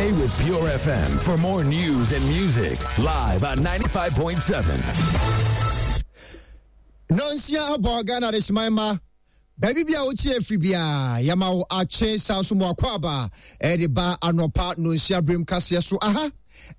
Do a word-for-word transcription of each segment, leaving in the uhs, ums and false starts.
Stay with Pure F M for more news and music live on ninety-five point seven. Nonsia abɔ. Ghana de hyeman ma baabi bi a wotie afiri biaa, yɛma wo akye saa so mu akɔ aba ɛde ba anɔpa nonsia berem kaseɛ so. Aha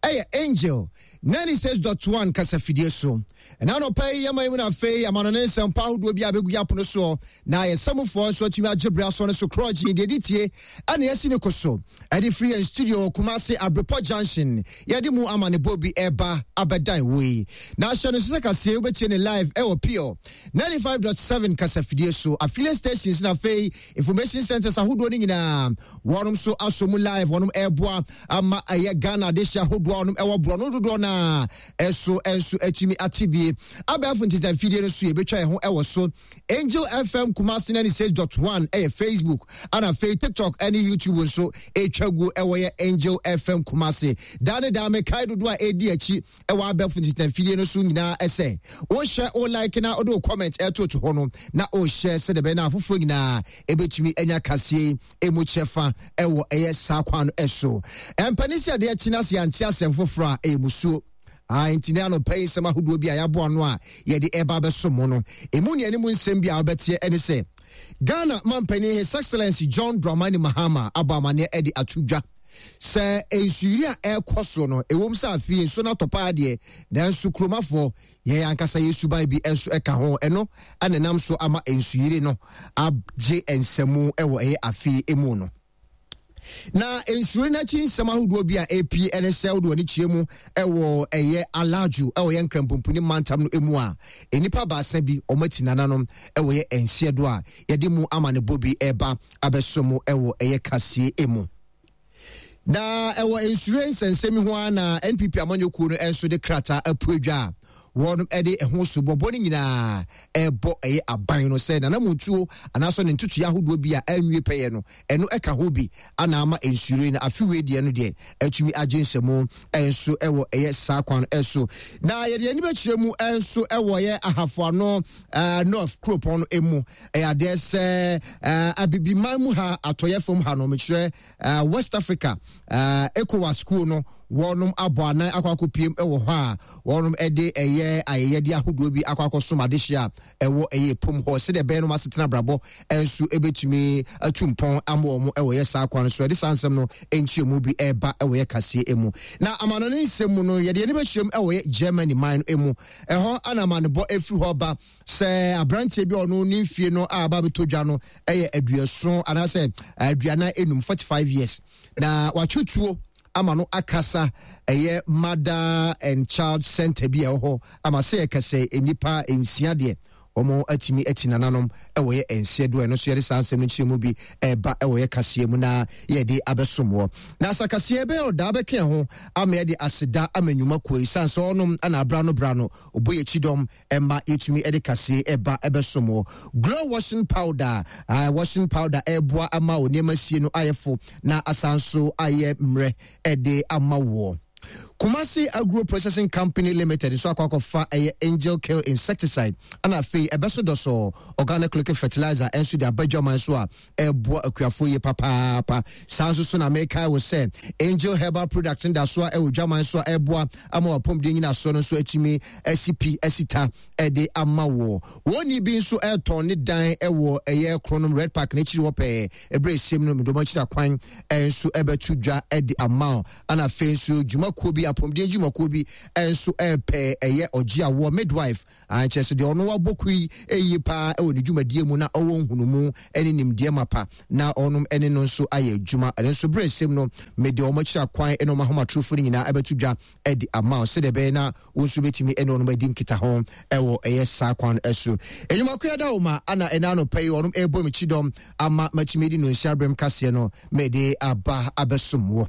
ɛyɛ Angel ninety-six point one kasafidie so. Ɛna anɔpa yi yɛma yi mu no, afei amanɔne nsɛmpa ahodoɔ bi a bɛgu yɛ apono soɔ na yɛsɛmufoɔ nso atumi agye berɛ asoɔ no so korɔgye deɛ di tie ɛna yɛsi ne ko so ɛde firi yɛn studio Kumase Abrepɔ Junction. Yɛde mu amanebɔ bi ɛba abɛdan wei na ahyɛ no so sɛ kaseɛ wobɛtie ne live ɛwɔ Pure ninety-five point seven kasafidie so, affiliate stations na afei information centers ahodoɔ no nyinaa wɔnom so asɔ mu live. Wɔnom ɛreboa ama ɛyɛ Ghana adehyɛ ahodoɔ a wɔnom ɛwɔ borɔ no dodoɔ no a ɛso ɛnso atumi ate bie. Abɛɛfo ntitamfidie no so yɛbɛtwa yɛn ho ɛwɔ so. Angel F M Kumasi ninety-six point one ɛyɛ Facebook, ana afei TikTok ɛne YouTube nso ɛtwa gu ɛwɔ yɛ Angel F M Kumasi. Daa ne daa mekae dodoɔ a ɛdi akyi ɛwɔ abɛɛfo ntitamfidie no so nyinaa ɛsɛ wohyɛ wo like na wode wo comment ɛtoto hɔ no na wohyɛ sɛdeɛ ɛbɛyɛ na afoforɔ nyinaa ɛbɛtumi anya kaseɛ ɛmu kyɛfa ɛwɔ ɛyɛ saa kwan no ɛso. Ɛmpani sɛ adeɛ akyi no ase yɛante asɛm foforɔ a ɛyɛ musuo. Ah, nti ne anɔpa yi nsɛm ahodoɔ bi a yɛaboa no a yɛde ɛba bɛso mo no, ɛmu nea ne mu nsɛm bi a wobɛteɛ ɛne sɛ Ghana mampanin His Excellency John Dramani Mahama abɔ amanneɛ ɛde ato dwa sɛ nsuyiri a ɛrekɔ so no, ɛwom sɛ afei nso no atɔ paa deɛ, nanso kuromafoɔ yɛn ankasa yɛ suban bi nso ɛka ho, ɛno ɛna nam so ama nsuyiri no agye nsɛmu ɛwɔ ɛyɛ afei mu no. Na nsuri n'akyi nsɛm ahodoɔ bi a ɛpie ɛne sɛ wode w'ani kyerɛ mu ɛwɔ ɛyɛ Alajo ɛwɔ yɛ Nkrampomponi mantam no mu a, nnipa baasa bi wɔn ati nananom ɛwɔ yɛ nseɛ do a yɛde mu ama ne bɔ bi ɛba abɛso mu ɛwɔ ɛyɛ kaseɛ mu. Na ɛwɔ nsure nsɛnsɛm ho ara na N P P amanyɔkuo no nso de krataa apue dwa a wɔn de ɛho so bɔbɔ no nyinaa ɛrebɔ ɛyɛ aban no sɛ nanamontuo anaasɛ ne ntotoeɛ ahodoɔ bi a ɛnwie pɛyɛ no, ɛno ɛka ho bi ana ama nsure no afeewei deɛ no deɛ atumi agye nsɛmu ɛnso ɛwɔ ɛyɛ saa kwan ɛso. Na yɛde ani bɛkyerɛ mu ɛnso ɛwɔ ɛyɛ Ahafoano ɛɛ North kuropɔn no emu. Ɛyɛ adeɛ sɛ ɛɛ Abibiman mu ha, atɔyɛ fam ha no, mekyerɛ ɛɛ West Africa ɛɛ ECOWAS school no, wɔnom abɔ anan akɔ akɔpiem ɛwɔ hɔ a wɔnom ɛde ɛyɛ ayɛyɛde ahodoɔ bi akɔ akɔsom adehyɛ a ɛwɔ ɛyɛ pom hɔ sɛdeɛ ɛbɛyɛ no asetena abrabɔ ɛnso ɛbɛtumi atu mpɔn ama wɔn ɛwɔ yɛ saa kwan so. Ɛde saa nsɛm no nkyerɛmu bi ɛreba ɛwɔ yɛ kaseɛ mu. Na amanɔne nsɛm mu no, yɛde yɛn bɛkyerɛm ɛwɔ yɛ Germany man no mu. Ɛhɔ ana amanebɔ ɛfiri hɔ ba sɛ aberanteɛ bi a ɔno ne mfie no a aba abɛtɔ dwa no ɛyɛ aduɔson anaasɛ aduanan enum, forty five years, na watwe tuo ama no akasa ɛyɛ mother and child center bi a ɛwɔ hɔ ama sɛ yɛkɛsɛ nnipa nsia deɛ wɔn atumi ati nananom ɛwɔ yɛ nseɛ do. Ɛno nso yɛde saa nsɛm no nkyerɛ mu bi ɛreba ɛwɔ yɛ kaseɛ mu na yɛde abɛsom wɔ. Na asakaseɛ bɛyɛ ɔdaa bɛka ho ama yɛde aseda ama nnwuma kuo yi san sɛ ɔnom ana abra no bra no ɔbɔ yɛ kyidɔm ɛma yɛtumi ɛde kaseɛ ɛba ɛbɛsom wɔ. Glow washing powder, uh, washing powder ɛreboa ama wɔ nneɛma sie no ayɛ fo na asan so ayɛ mmerɛ ɛde ama wɔ. Kumasi Agro Processing Company Limited nso akɔ akɔfa ɛyɛ Angel Kill insecticide ɛna afei ɛbɛso dɔsɔ organic liquid fertilizer ɛnso de aba dwaman so a ɛboa akuafoɔ yie papaapa. Saa nso so na mekae wɔ sɛ Angel Herbal Products da so a ɛwɔ dwaman so a ɛboa ama wapɔmuden nyinasoɔ no nso atumi asi pi asi ta ɛde ama wɔ. Wɔn ni bi nso ɛretɔn ne dan ɛwɔ ɛyɛ Kronom Red Park n'akyiri hɔ pɛɛ. Ɛberɛ esiem no medɔm akyiri akwan ɛnso ɛbɛto dwa ɛde ama wo. Ana afei nso dwumakuo bi, apɔmuden dwumakuo bi ɛnso ɛrepɛ ɛyɛ ɔgye awoɔ midwife, ankyerɛ sɛ deɛ ɔno wabɔ kui ɛyie paa ɛwɔ ne dwumadie mu na ɔwɔ nhunumu ɛne nimdeɛ mapa na ɔnom ɛne no nso ayɛ adwuma. Ɛno nso berɛ esiem no mede wɔn akyiri akwan ɛne wɔn ahomatorofo no nyinaa ɛbɛto dwa ɛde ama wo sɛdeɛ ɛbɛyɛ na wo nso bɛtumi ɛne ɔnom adi nkita ho ɛwɔ ɛyɛ saa kwan ɛso. Enyumakoya da wo ma ana ɛna anɔpa yi ɔnom ɛrebɔ me kyidɔm ama matumi di no nsia berɛm kaseɛ no mede aba abɛsom wɔ.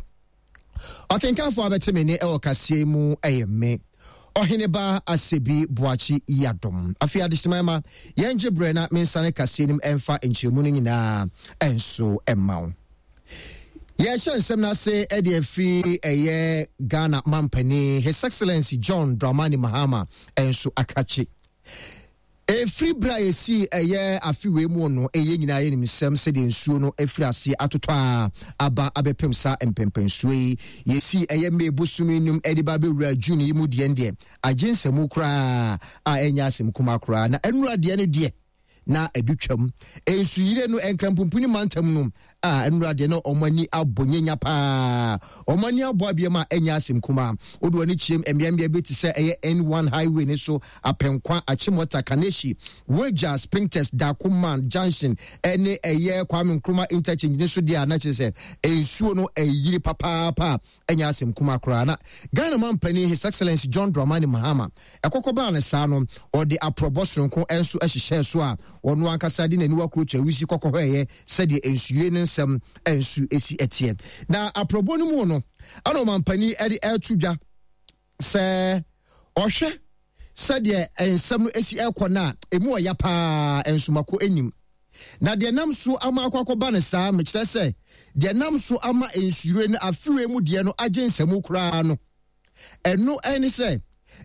Ɔkenkanfoɔ abɛte me ne ɛwɔ kaseɛ mu ɛyɛ me Ɔheneba Asɛbi Boakye Yadom. Afei adehyema ma yɛngye berɛ na mensane kaseɛ no mu ɛmfa nkyerɛmu no nyinaa ɛnso ɛma wo. Yɛhyɛ nsɛm no ase ɛde afiri ɛyɛ Ghana mampanin His Excellency John Dramani Mahama ɛnso akakye. Ɛfiri berɛ a yɛsii ɛyɛ afe wei mu no, ɛyɛ nyinaa yɛnim nsɛm sɛdeɛ nsuo no afiri aseɛ atotɔ a aba abɛpem saa mpɛmpɛnsuo yi. Yɛsii ɛyɛ May bosome num de ba bɛwura June yi mu deɛ deɛ agye nsɛmu koraa a ɛnyɛ asɛm kuma koraa. Na ɛnura deɛ no deɛ na ɛdu twam. Nsuyire no Nkrampumpuni mantam no a ɛnura deɛ no ɔmo ani abɔ nyenya paa. Ɔmo ani abɔ abiam a ɛnyɛ asɛm kuma. Wode w'ani kyerɛm mmeammea bi te sɛ ɛyɛ N one highway ne so, Apɛnkwa, Achimota, Kaneshie, Weija, Spintex, Dakuman Junction ɛne ɛyɛ Kwame Nkrumah Interchange ne so deɛ a, na kyerɛ sɛ nsuo no ɛyiri papaapa a ɛnyɛ asɛm kuma koraa. Na Ghana mampanin, His Excellency John Dramani Mahama, ɛkɔkɔ baa ne saa no, ɔde aprɔbɔ soronko nso hyehyɛɛ so a ɔno ankasa de n'aniwa kuro to awisi kɔkɔ hɔ ɛyɛ sɛdeɛ nsuyire ne nsɛm nso esi ɛteɛ. Na aprɔbɔ no mu no, ɛna ɔmampanin ɛde ɛreto dwa sɛ ɔhwɛ sɛdeɛ nsɛm no esi ɛrekɔ no a, emu ɔya paa nsomako anim. Na deɛ nam so ama akɔ akɔba no saa, mekyerɛ sɛ deɛ nam so ama nsuyire no afewe mu deɛ no agye nsɛmu koraa no, ɛno ɛne sɛ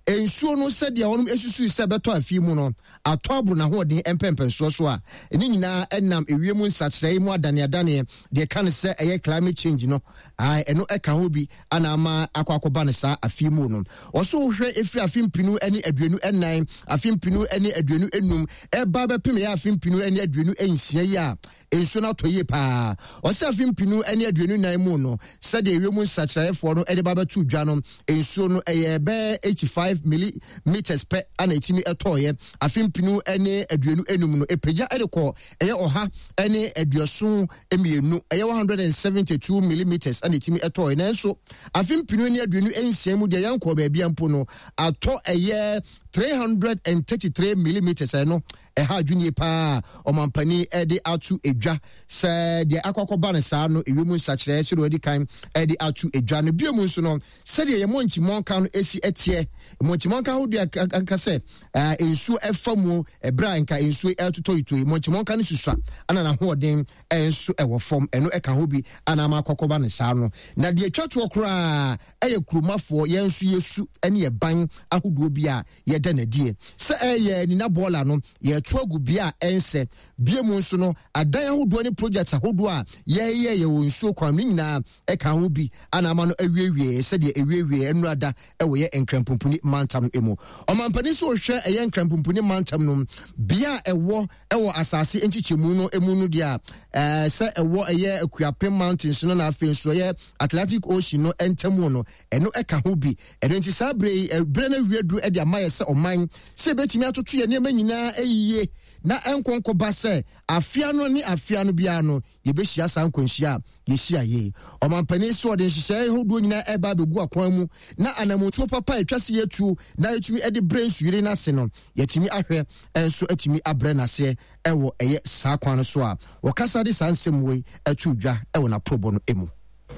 nsuo no, sɛdeɛ wɔn esusu sɛ bɛtɔ afi mu no, atɔ aboro n'ahoɔden mpɛmpɛnsoɔ so a ne nyinaa ɛnam ewiem nsakyerɛ mu adaneadaneɛ deɛ ka no sɛ ɛyɛ climate change no. Ɛno ɛka ho bi ana ama akɔ akɔba no saa afi mu no. Ɔso wohwɛ efiri afe mpinu ne aduonu ɛnan, afe mpinu ne aduonu enum, ɛba bɛpem ɛyɛ afe mpinu ne aduonu nsia yi a, nsuo no atɔ yie paa. Ɔsɛ afe mpinu ne aduonu nan mu no, sɛdeɛ ewiem nsakyerɛeɛfoɔ no ɛde ba bɛto dwa no, nsuo no ɛyɛ bɛɛ eighty five millimeters pɛ ana etimi ɛtɔɔyɛ. Afe mpinu ne aduonu enum no, epagya ɛde kɔ ɛyɛ ɔha ne aduɔson mmienu, ɛyɛ one hundred and seventy two millimeters ana etimi ɛtɔɔyɛ. Nanso afe mpinu ne aduonu nsia mu deɛ, yɛn kɔ baabi mpo no, atɔ ɛyɛ three hundred and thirty three millimeters. Ɛno ɛha adwunie paa. Ɔmampanin ɛde ato edwa sɛ deɛ akɔakɔba no saa no, ewiem nsakyerɛ sɛdeɛ ɔde kan ɛde ato edwa no. Bio mu nso no, sɛdeɛ yɛ mɔntimɔnka no esi ɛteɛ, mɔntimɔnka ahodoɔ aka sɛ ɛɛ nsuo ɛfa mu ɛbrɛ a nka nsuo ɛtotɔ ito yi, mɔntimɔnka no susua ana n'ahoɔden ɛnso ɛwɔ fam. Ɛno ɛka ho bi ana ama akɔkɔba no saa no. Na deɛ atwa toɔ koraa ɛyɛ kuromafoɔ yɛn nso yɛsu ɛne yɛ ban ahodoɔ bi a yɛda n'adie sɛ ɛyɛ nina bɔɔla no yɛto agu bea a ɛnsɛ. Bie mu nso no, adan ahodoɔ ne projects ahodoɔ a yɛyɛ yɛwɔ nsuo kwan no nyinaa ɛka ho bi ana ama no awiewie sɛdeɛ awiewie nnurada ɛwɔ yɛ Nkrampumpuni mantam mu. Ɔmampanin sɛ ɔhwɛ ɛyɛ Nkrampumpuni mantam no bea a ɛwɔ ɛwɔ asase nkyekyɛmu no mu no deɛ a, ɛɛ sɛ ɛwɔ ɛyɛ Akuapem Mountains no na afei nso ɛyɛ Atlantic Ocean no ntam no, ɛno ɛka ho bi. Ɛno nti saa bere yi, ɛberɛ no awie duru ɛde ama yɛ sɛ ɔman sɛ ebɛtumi atoto yɛ nneɛma nyinaa ɛyie na ɛnkɔnkɔba sɛ afea no ne afea no biara no yɛbɛhyia saa nkwanhyia a yɛhyia yie. Ɔmampanin so ɔde nhyehyɛeɛ ahodoɔ nyinaa ɛba abɛgu akwan mu na anamotuo papa a atwa se yɛtuo na yɛtumi de brɛ nsuyire no ase no, yɛtumi ahwɛ nso atumi abrɛ n'aseɛ ɛwɔ ɛyɛ saa kwan no so a wɔkasa de saa nsɛm wei ɛto dwa ɛwɔ n'aporɔbɔ no mu.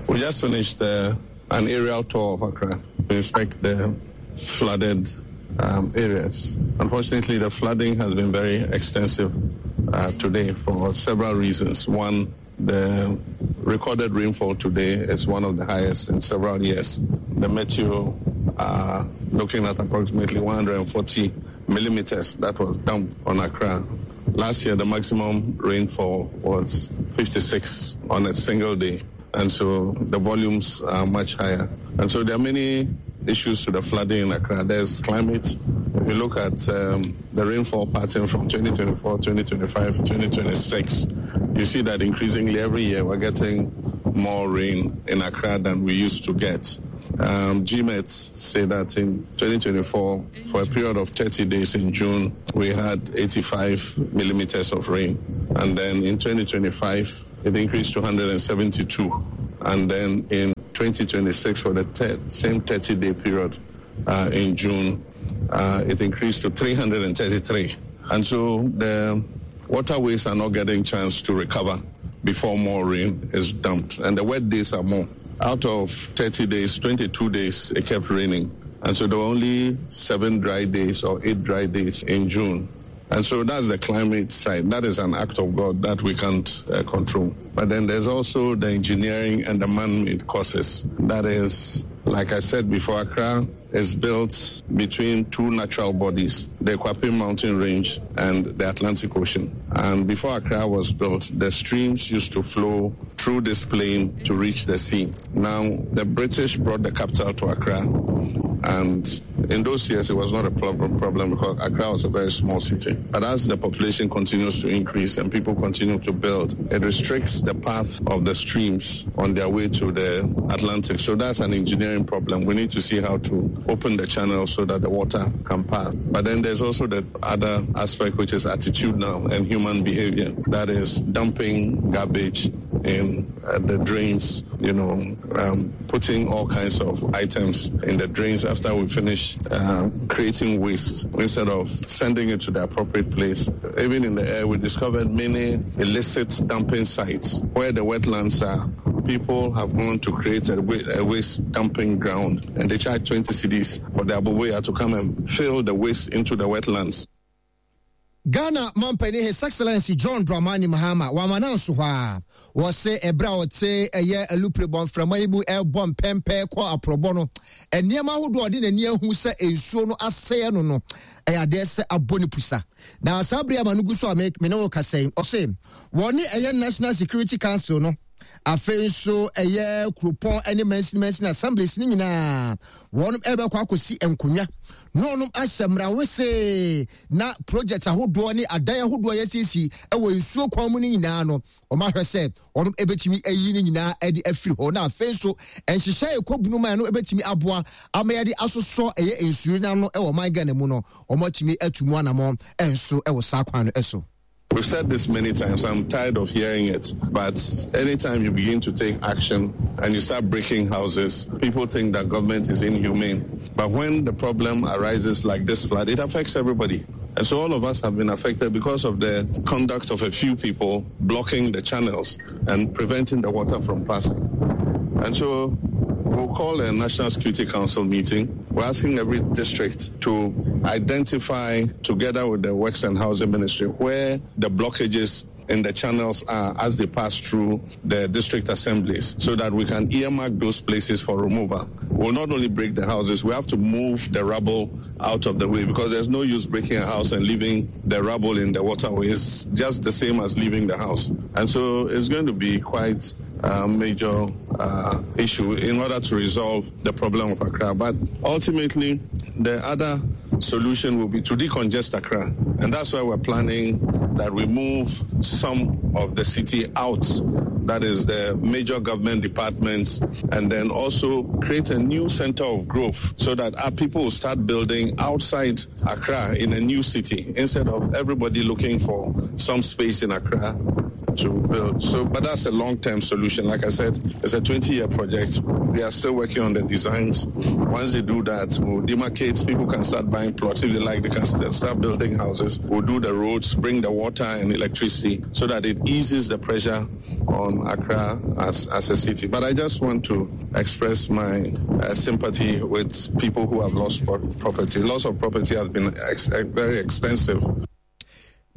We just finished uh, an aerial tour of Accra to inspect the flooded um, areas. Unfortunately, the flooding has been very extensive uh, today for several reasons. One, the recorded rainfall today is one of the highest in several years. The meteo are looking at approximately one hundred forty millimeters that was dumped on Accra. Last year, the maximum rainfall was fifty-six on a single day. And so the volumes are much higher. And so there are many issues to the flooding in Accra. There's climate. If you look at um, the rainfall pattern from twenty twenty-four, twenty twenty-five, twenty twenty-six, you see that increasingly every year we're getting more rain in Accra than we used to get. Um, G M E T say that in twenty twenty-four, for a period of thirty days in June, we had eighty-five millimeters of rain. And then in twenty twenty-five, it increased to one hundred seventy-two. And then in twenty twenty-six, for the te- same thirty-day period uh, in June, uh, it increased to three hundred thirty-three. And so the waterways are not getting chance to recover before more rain is dumped. And the wet days are more. Out of thirty days, twenty-two days it kept raining. And so there were only seven dry days or eight dry days in June. And so that's the climate side. That is an act of God that we can't uh, control. But then there's also the engineering and the man-made causes. That is Like I said before, Accra is built between two natural bodies, the Akwapim mountain range and the Atlantic Ocean. And before Accra was built, the streams used to flow through this plain to reach the sea. Now, the British brought the capital to Accra, and in those years it was not a problem, problem because Accra was a very small city. But as the population continues to increase and people continue to build, it restricts the path of the streams on their way to the Atlantic. So that's an engineering problem. We need to see how to open the channel so that the water can pass. But then there's also the other aspect, which is attitudinal and human behavior. That is dumping garbage in uh, the drains, you know, um, putting all kinds of items in the drains after we finish uh, creating waste instead of sending it to the appropriate place. Even in the air, we discovered many illicit dumping sites where the wetlands are. People have gone to create a, a waste dumping ground, and they charge twenty cedis for the aboboya to come and fill the waste into the wetlands. Ghana mampanin His Excellency John Dramani Mahama wama no nso hɔ a wɔse ɛberɛ a ɔte ɛyɛ alupre bɔmframa yi mu ɛbɔ mpɛmpɛ kɔ aporɔbɔ no, nneɛma ahodoɔ a ɔde n'ani ahu sɛ nsuo no asɛe no no ɛyɛ adeɛ sɛ abɔ ne pusa. Na saa bere ama no gu so a me ne wo kasa yi, ɔse wɔne ɛyɛ National Security Council no, afei nso ɛyɛ kuropɔn ne mansini mansini assemblies ne nyinaa wɔn ɛbɛkɔ akɔsi nkonnwa na wɔn ahyɛ mmerawese na project ahodoɔ ne adan ahodoɔ yɛsiesie ɛwɔ nsuo kwan mu no nyinaa no, wɔn ahwɛ sɛ wɔn ɛbɛtumi ayi ne nyinaa ɛde afiri hɔ. Na afei nso nhyehyɛ ɛkɔ bunu man no ɛbɛtumi aboa ama yɛde asosɔ ɛyɛ nsuo n'ano ɛwɔ ɔman Ghana mu no, wɔn atumi atu mu anamɔ ɛnso ɛwɔ saa kwan no ɛso. We've said this many times, I'm tired of hearing it, but anytime you begin to take action and you start breaking houses, people think that government is inhumane. But when the problem arises like this flood, it affects everybody. And so all of us have been affected because of the conduct of a few people blocking the channels and preventing the water from passing. And so we'll call a National Security Council meeting. We're asking every district to identify, together with the Works and Housing Ministry, where the blockages in the channels are as they pass through the district assemblies, so that we can earmark those places for removal. We'll not only break the houses, we have to move the rubble out of the way, because there's no use breaking a house and leaving the rubble in the waterway. It's just the same as leaving the house. And so it's going to be quite a major uh, issue in order to resolve the problem of Accra. But ultimately, the other solution will be to decongest Accra. And that's why we're planning that we move some of the city out, that is the major government departments, and then also create a new center of growth so that our people will start building outside Accra in a new city instead of everybody looking for some space in Accra to build. So, but that's a long-term solution. Like I said, it's a twenty-year project. They are still working on the designs. Once they do that, we'll demarcate. People can start buying plots. If they like, they can start building houses. We'll do the roads, bring the water and electricity so that it eases the pressure on Accra as, as a city. But I just want to express my uh, sympathy with people who have lost pro- property. Loss of property has been ex- very extensive.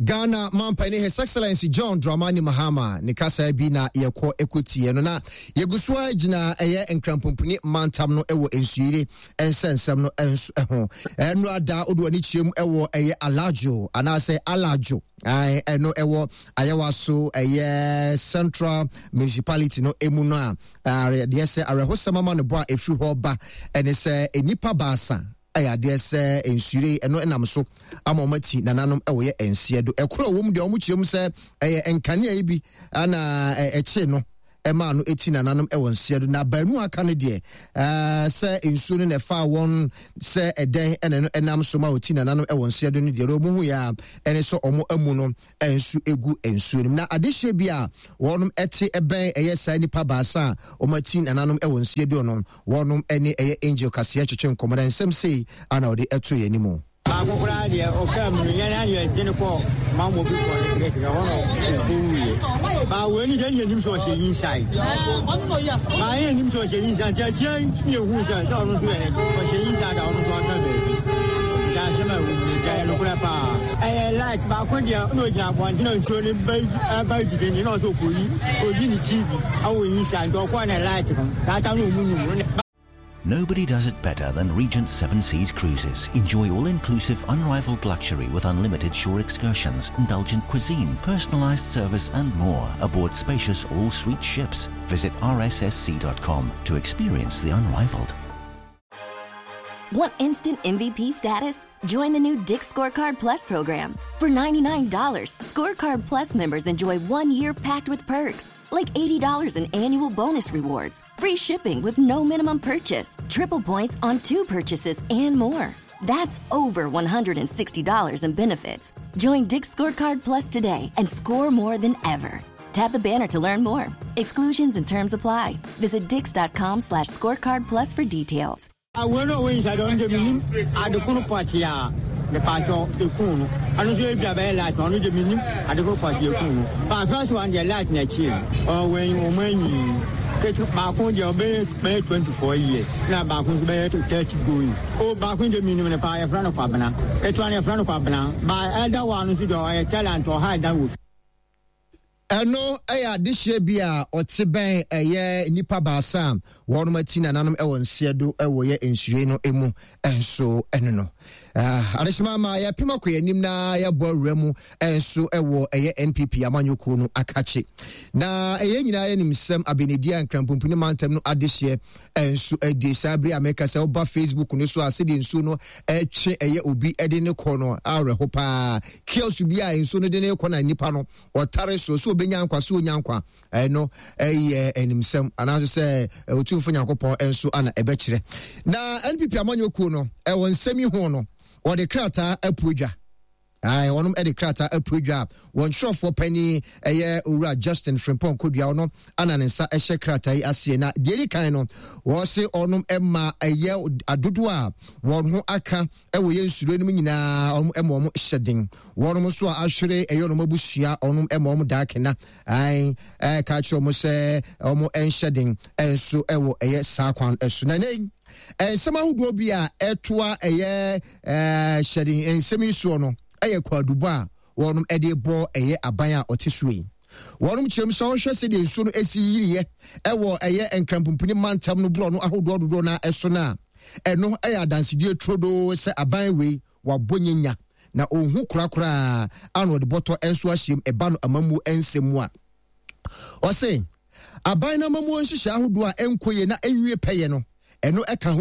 Ghana mampanin His Excellency John Dramani Mahama ne kasa bi na yɛkɔ ekotie no na yɛgu so a gyina ɛyɛ nkrampomponi mantam no ɛwɔ nsuire nsɛnsɛm no nso ɛho ɛno ada odo ani kyerɛ mu ɛwɔ ɛyɛ Alajo anaasɛ Alajo ɛno ɛwɔ Ayawa so ɛyɛ Central Municipality no emu no a deɛ sɛ awerɛhosɛm ama no bɔ a ɛfiri hɔ ba ɛne sɛ nnipa baasa ɛyɛ adeɛ sɛ nsuire ɛno ɛnam so ama wɔn ati nananom ɛwɔ yɛ nseɛ do ɛkoro wɔm deɛ wɔn kyerɛ mu sɛ ɛyɛ nkanea yi bi ana ɛkyere no ɛmaa no eti nananom ɛwɔ nseɛ do na baanu aka no deɛ ɛɛ sɛ nsuo no na ɛfa wɔn sɛ ɛdɛn ɛna no ɛnam so ma oti nananom ɛwɔ nseɛ do no deɛ wɔn hu yɛ a ɛne sɛ wɔn amu no ɛnso egu nsuo no na adehyɛ bi a wɔn ɛte ɛbɛn ɛyɛ saa nipa baasa a wɔn ati nananom ɛwɔ nseɛ do no wɔn ɛne ɛyɛ Angel Kaseɛ twetwe nkɔmɔ na nsɛm sei ana ɔde ɛto yɛn anim. Baako koraa deɛ ɔkaa mu no yɛn ayɛ de ne kɔ mammo bi kɔ ne kɛkɛ hɔ no ɔwuiɛ. Baa wei ni deɛ yɛnim sɛ ɔhyɛ inside. Baa yɛn nim sɛ ɔhyɛ inside nti akyia ne ehu sɛ sɛ ɔno nso yɛ ɔhyɛ inside a ɔno nso aka baabi. Nti asɛm a ɛwɔ mu deɛ ɛyɛ nokorɛ paa. Ɛyɛ light baako deɛ na ɔgyina abɔnten na nsuo no ba ba didi ne na ɔsɛ ɔkɔyi ɔyi ne T V awɔ inside nti ɔkɔɔ ne light no saa ta na ɔmu num. Nobody does it better than Regent Seven Seas Cruises. Enjoy all-inclusive, unrivaled luxury with unlimited shore excursions, indulgent cuisine, personalized service and more aboard spacious all-suite ships. Visit R S S C dot com to experience the unrivaled. Want instant M V P status? Join the new Dick's Scorecard Plus program. For ninety-nine dollars, Scorecard Plus members enjoy one year packed with perks, like eighty dollars in annual bonus rewards, free shipping with no minimum purchase, triple points on two purchases, and more. That's over one hundred sixty dollars in benefits. Join Dick's Scorecard Plus today and score more than ever. Tap the banner to learn more. Exclusions and terms apply. Visit dicks dot com slash scorecard plus for details. I will not win. I don't give him. I do party. The party the coon. I don't say if light on the minimum. I do party a coon. But first one, the light next year. Or when you when you twenty-four years. Now back when you thirty going. Oh, back when the minimum a front of Abana. It's one in front of Abana. By elder one who do a talent or hide down with. Ɛno ɛyɛ adehyɛ bi a ɔte bɛn ɛyɛ nipa baasa a wɔnom ati nananom ɛwɔ nseɛ do ɛwɔ yɛ nsure no emu ɛnso ɛno no. Adehyema ma yɛpem akɔ yɛn anim na yɛbɔ awura mu ɛnso ɛwɔ ɛyɛ N P P amanyɔkuo no akakye. Na ɛyɛ nyinaa yɛnim sɛm abenedi a nkrampomponi mantam no adehyɛ ɛnso ɛdi saa bere a mɛka sɛ woba Facebook no so a sɛdeɛ nsuo no ɛtwe ɛyɛ obi ɛde ne kɔ no awerɛho paa. Kiosk bi a nsuo no de ne kɔ na nipa no ɔtare so so obenya nkwa so onya nkwa ɛno ɛyɛ animsɛm anaasɛ sɛ otumfo Nyankopɔn ɛnso ana ɛbɛkyerɛ. Na N P P amanyɔkuo no ɛwɔ nsɛm yi ho no wɔde krataa apu adwa. Ae, wɔnom ɛde krataa apu adwa a wɔn twerɛfoɔ panyin ɛyɛ Owura Justin Frimpong Kodua no ana ne nsa ɛhyɛ krataa yi aseɛ. Na deɛ edi kan no wɔse ɔnom ɛma ɛyɛ adodoɔ a wɔn ho aka ɛwɔ yɛn nsuro no mu nyinaa ɔnom ɛma wɔn hyɛ den. Wɔnom nso a ahwere ɛyɛ ɔnom abusua ɔnom ɛma wɔn daakena. Ae, ɛka kyerɛ wɔn sɛ wɔn ɛnhyɛ den ɛnso ɛwɔ ɛyɛ saa kwan ɛso. Na ne nsɛm ahodoɔ bi a ɛtoa ɛyɛ, ɛɛ, hyɛden nsɛm yi soɔ no ɛyɛ kwaadubɔ a wɔnom ɛde bɔ ɛyɛ aban a ɔte so yi. Wɔnom kyerɛm sɛ wɔhwɛ sɛdeɛ nsuo no esi yiriɛ ɛwɔ ɛyɛ nkrampomponi mantam no borɔ no ahodoɔ dodoɔ na ɛso no a, ɛno ɛyɛ adansedie turodoo sɛ aban wei wabɔ nyenya na ɔnhu korakoraa a na ɔde bɔtɔ nso ahyɛm ɛba no amammuo nsɛm mu a. Ɔse aban no amammuo nhyehyɛ ahodoɔ a ɛnkɔ yie na ɛnwie pɛyɛ no, ɛno ɛka ho